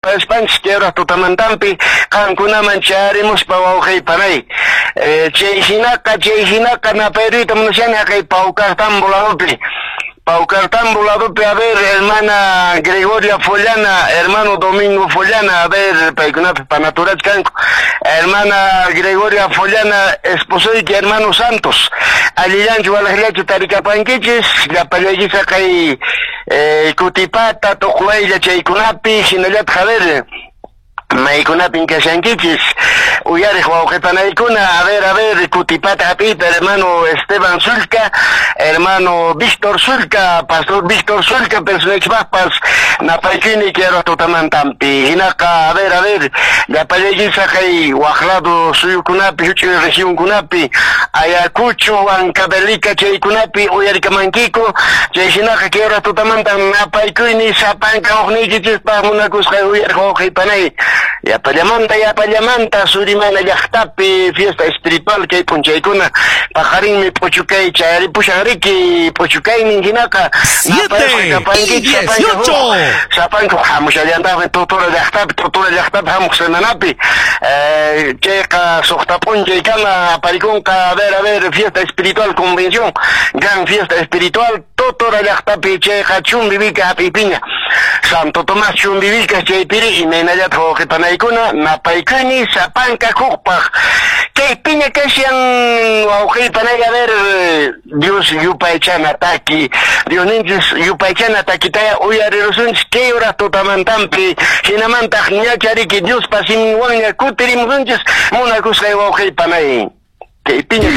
Paspanchis kay hora tutamantampi qankunaman chayarimuspa wawqey panay. Chay hinaqa napayruyta munashani haqay Paucartambo ladopi. Paucartambo ladopi, a ver, hermana Gregoria Follana, hermano Domingo Follana, a ver, paykunapi panaturach kanku. Hermana Gregoria Follana, esposoyki hermano Santos. Allillanchu walaqllachu tarikapankichis, llapallaykichis haqay Kutipata, Tuqwaylla chaykunapi, hinallataq, a ver, maykunapin kashankichis uyariq wawqipanaykuna. A ver, a ver, Kutipata hap'iyta hermano Esteban Sulca, hermano Víctor Sulca, pastor Víctor Sulca, personachpaqpas napaykuyni quiero tutamantampi. Hinaqa, a ver, a ver, llapallaykichis haqay waq lado suyukunapi, huch'uy regionkunapi, Ayacucho, Huancavelica chaykunapi uyarikamankiku. Chay hinaqa quiero tutamantan napaykuyni sapanka hukniykichispaq, munakusqay uyariq wawqipanay. Yapallamanta, yapallamanta Surimana llaqtapi fiesta espiritual kay p'unchaykuna paqarinmi p'uchukay chayaripushan riki p'uchukaynin. Hinaqa 7 y 18. Sapanka hamushallantaqmi Totora llaqtapi, Totora llaqtapi hamuq semanapi, chayqa suqta p'unchaykama aparikunqa. A ver, a ver, fiesta espiritual, convención, gran fiesta espiritual Totora llaqtapi, chayqa Chumbivilca hap'iypiña, Santo Tomás Chumbivilca chaypiri. Imaynallataq, wawqipanaykuna, napaykuyni sapanka hukpaq kaypiña kashan wawqipanay. A ver, Dios yupaychana taki, Diosninchis yupaychana takitaya uyarirusunchis kay hora tutamantampi, hinamantaq ñachariki Diospa siminwanña kutirimusunchis, munakusqay wawqipanay, kaypiña.